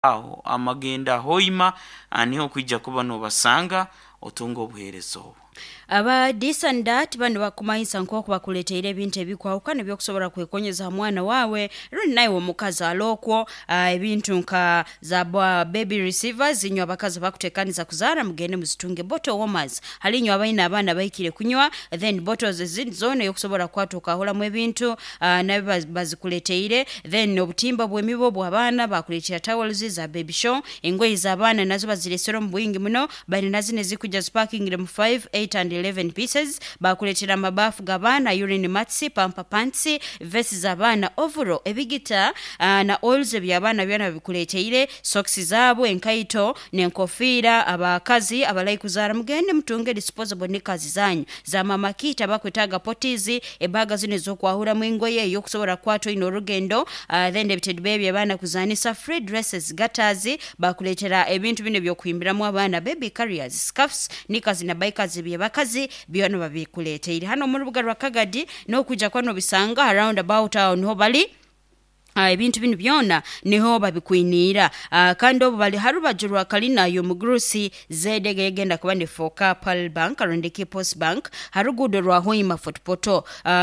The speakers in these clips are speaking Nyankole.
Aho amagenda Hoima niho okwija kuba nobasanga otunga obuheereza obwo. Aba this and that banu bakumanyisa nk'oku bakuleeteire ebintu ebikwahukana ebyokusobola kwekonyeza ha mwana waawe rundi naiwe omukazi ali okwo ebintu nka za baby receivers inywe abakazi abakuteekaniza kuzaara mugende muzitunge, bottle warmers hali inywe abaine abaana abahikire kunywa, then bottles ezindi zoona eyokusobola kukwata okahuramu ebintu nabyo bazikuleeteire, then obutimba bw'emibu obw'abaana bakuleetera towels za baby show, engoye z'abaana nazo bazireesere omu bwingi muno, baine na zinu ezikwija zipakingire mu 5, 8 and 11 pieces, bakuleetera amabaafu g'abaana, urine mats, pamper pants, vests z'abaana, overall, ebigita na oils eby'abaana byona babikuleeteire, socks zaabo, enkaito n'enkofiira. Abakazi abarahi kuzaara mugende mutunge disposable knickers zanyu za mama kit, abakwetaaga potties, ebaaga zinu ez'okwahuramu engoye ey'okusobora kukwata oine orugendo, then ebitedi eby'abaana kuzaanisa, free dresses, gutters, bakuleetera ebintu binu eby'okuhimbiramu abaana, baby carriers, scarfs, knickers na bikers eby'abakazi byona babikuleeteire. Hanu omu rubuga rwa Kagadi n'okwija kuba n'obisanga ha round about aho niho bali. Ebintu binu byona niho babikwiniira. Kandi obu bali ha rubaju rwa kalina y'omugurusi ZEG eyegenda kuba nefooka Pearl Bank rundi ki Post Bank ha ruguudo rwa Hoima Fort Portal.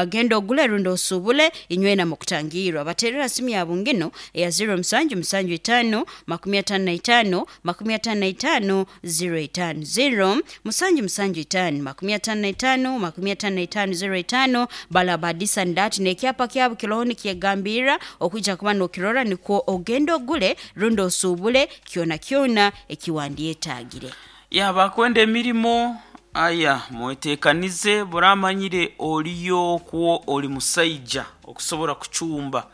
Genda ogule rundi osuubule inywena mukutangiirwa. Bateerera simu yabu nginu eya ziro musanju musanju itaano 55 55 05, ziro musanju musanju itaano 55 55 05. Balaba this and that n'ekyapa kyabu kiroho nikyegambirra okwija kuba n'okirora nikwo ogende ogule rundi osuubule kyona kyona eki wandyetaagire. Ya bakwenda emirimo aya mweteekanize buramanyire oriyo okwo ori musaija okusobora kucumba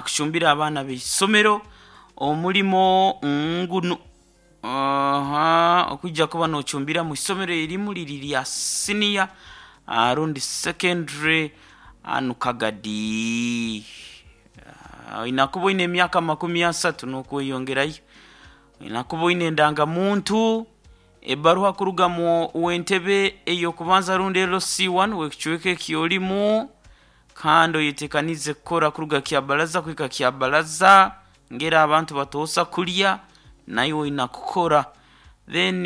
kucumbira abaana b'eisomero omurimo ngunu okwija kuba nocumbira mu isomero erimu riri rya senior rundi secondary hanu Kagadi. Oine kuba oine emyaka 30 n'okweyongerayo, oine kuba oine endangamuntu, ebaruha kuruga mu w'entebe ey'okubanza rundi LC1 w'ekicweka eki orimu kandi oyeteekanize kukora kuruga Kyabaraza kuhika Kyabaraza ngeri abantu batoosa kurya naiwe oine kukora. Then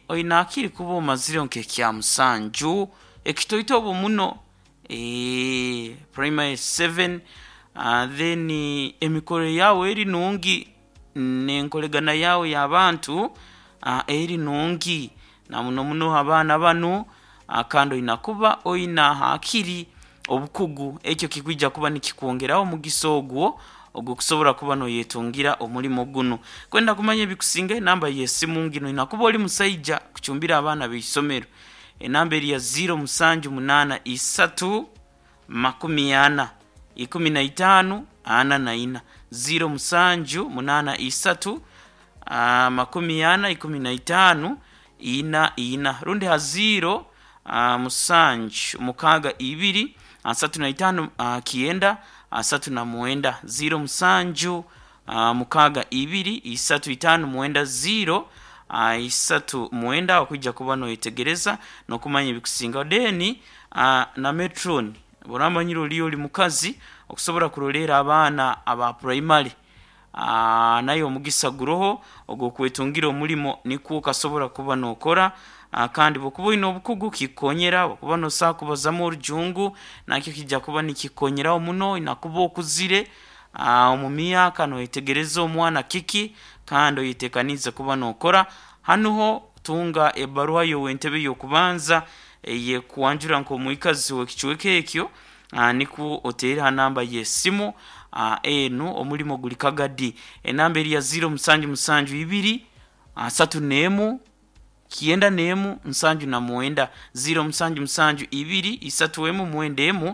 oine hakiri kuba omazire nk'ekyamusanju ekitoito obu muno primary 7 then emikoro yaawe eri nungi n'enkoregana yaawe y'abantu eri nungi na muno muno abaana banu kandi oine kuba oine hakiri obukugu ekyo kikwija kuba nikikwongeraho omugisa ogwo ogw'okusobora kuba noyetungira omurimo gunu. Kwenda kumanya ebikusinga enamba y'esimu nginu oine kuba ori musaija kucumbira abaana b'eisomero enamba eri ya 0783 40 15 44 0783 40 15 44 rundi ha 0 musanju mukaaga ibiri 35 9 39 07 62 35 0 39 okwija kuba noyetegereza n'okumanya ebikusingaho. Then na matron oramanyire oriyo ori mukazi okusobora kuroleera abaana aba primary naye omugisa guroho ogw'okwetungira omurimo nikwo okasobora kuba nookora kandi bw'okuba oine obukugu kikukonyera bw'okuba noosobola kubazamu orujungu nakyo kiija kuba nikikukonyeraho muno oine kuba okuzire omu myaka noyetegereza omwana kiki kandi oyeteekaniize kuba nookora. Hanu ho tunga ebaruha y'ow'entebe y'okubanza eyekwanjura nk'omwikazi w'ekicweka ekyo nikwo oteere ha namba y'esimu enu omurimo guri Kagadi. Enamba eri ya 0772 31 91 79 0772 31 91.